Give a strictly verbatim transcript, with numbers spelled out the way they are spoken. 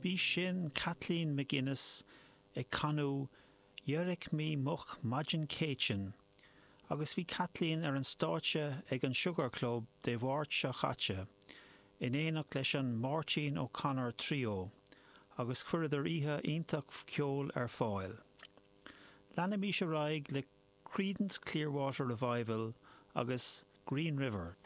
B'í sin Kathleen McGuinness ag canadh D'éirigh mé moch maidin Céitinn, agus bhí Kathleen ar an stáitse ag an Sugar Club Dé Máirt seo caite, in éineacht leis an Máirtín O'Connor Trio, agus chuireadar oíche iontach ceoil ar fáil. Leanaimis ar aghaidh le Creedence Clearwater Revival agus Green River.